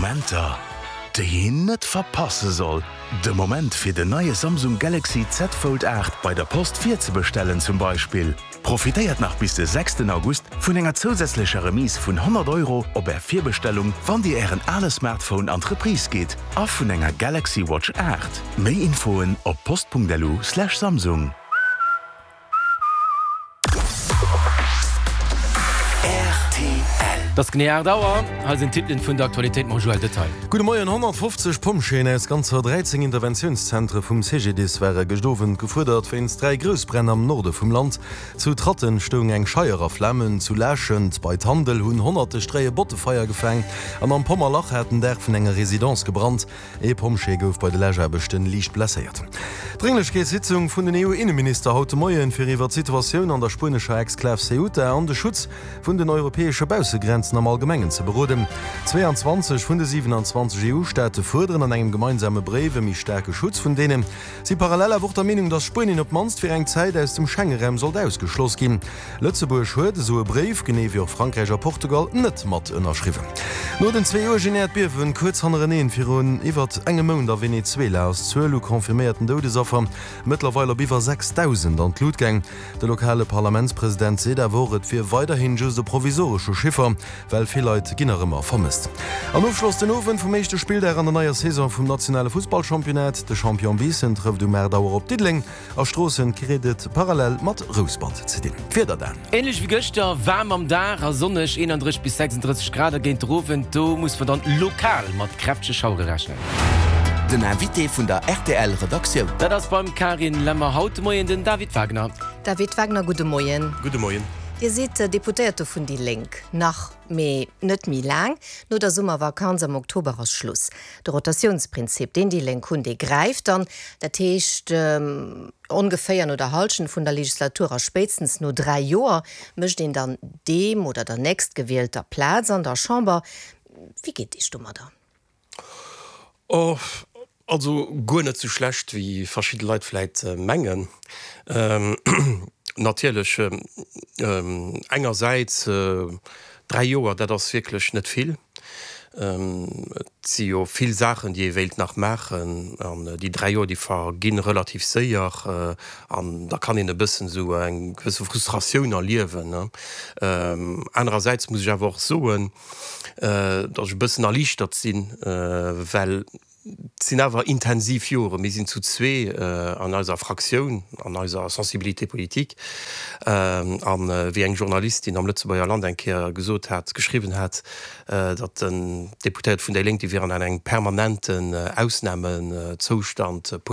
Momenter, déi een net verpasse soll. De Moment fir den neie Samsung Galaxy Z Fold 8 bei der Post virzebestellen zum Beispill. Profitéiert nach bis de sechsten August vun enger zousätzlecher Remise vun 100 Euro op Är Virbestellung, wann Dir Ären ale Smartphone an d'Reprise gitt, a vun enger Galaxy Watch 8. Méi Infoen op post.lu/samsung. Et ass genee 8 Auer. Hei sinn d'Titelen vun der Aktualitéit mam Joël Detail. Gudde Moien. 150 Pompjeeën aus ganzer 13 Interventiounszentre vum CGDIS ware gëscht Owend gefuerdert wéinst 3 Groussbränn am Norde vum Land. Zu Tratten stoung eng Scheier a Flamen, zu Laaschent bei Tandel hunn honnerte Stréie Botte Feier gefaang an am Pommerlach hat den Daach vun enger Residence gebrannt. Ee Pompjee gouf bei de Läschaarbechten liicht blesséiert. Drénglechkeetssitzung vun den EU-Inneminister haut de Moien, fir iwwer d'Situatioun an der spuenescher Exklav Ceuta an de Schutz vun den europäesche Baussegrenzen am Allgemengen ze beroden. 22 vun de 27 EU-Staate fuerderen an engem gemeinsame Bréif e méi staarke Schutz vun deenen. Si parallel awer och der Meenung, datt Spuenien op d'mannst fir eng Zäit aus dem Schengeraum sollt ausgeschloss ginn. Lëtzebuerg huet esou e Bréif, genee wéi och Frankräich a Portugal, net mat ënnerschriwwen. No den zwee uergen Äerdbiewen kuerz hannereneen virun iwwert engem Mount a Venezuela ass d'Zuel u confirméierten Doudesaffer mëttlerweil op iwwer 6.000 an d'Lut gaang. De lokale Parlamentspresident seet awer och, et wier weiderhin just e provisoresche Chiffer, well vill Leit ginn nach ëmmer vermësst. An Ofschloss den Owend vum éischte Spilldag an der neier Saison vum nationale Fussballchampionnat. De Champion Biissen trëfft um 8 Auer op Diddeleng. A Stroossen kritt et parallel mat Rouspert ze dinn. D'Wieder dan. Ähnlech wéi gëschter, waarm am Dag a sonneg, 31 bis 36 Grad, a géint der Owend, do muss mer dann lokal mat kräftege Schauere rechnen. Den Invité vun der rtl Redaktioun. Dat ass beim Carine Lemmer haut de Moien den David Wagner. David Wagner, gudde Moien. Gudde Moien. Dir sidd Deputéierte vun déi Lénk, nach, mee net méi laang. No der Summervakanz am Oktober ass Schluss. De Rotatiounsprinzip, deen déi Lénk hunn, dee gräift dann. Dat heescht, ongeféier no der Hallschent vun der Legislatur a spéitstens no 3 Joer mécht een dann deem oder der Nächstgewielter Plaz an der Chamber. Wéi geet Iech domadder? Oh, also guer net sou schlecht, wéi verschidde Leit vläit mengen. Natierlech, engersäits, 3 Joer, dat ass wierklech net vill. Et si jo vill Saachen, déi ee wéilt nach maachen, an déi 3 Joer, déi verginn relativ séier, an da kann een e bëssen esou eng gewësse Frustratioun erliewen. Anerersäits muss ech awer och soen, datt ech e bëssen erliichtert sinn, well et sinn awer intensiv Joren. Mir sinn zu zwee an eiser Fraktioun, an eiser Sensibilité politique. A wéi eng Journalistin am Lëtzebuerger Land eng Kéier gesot hat, geschriwwen hat, datt den Deputéierte vun déi Lénk, déi wieren an engem permanenten Ausnamezoustand.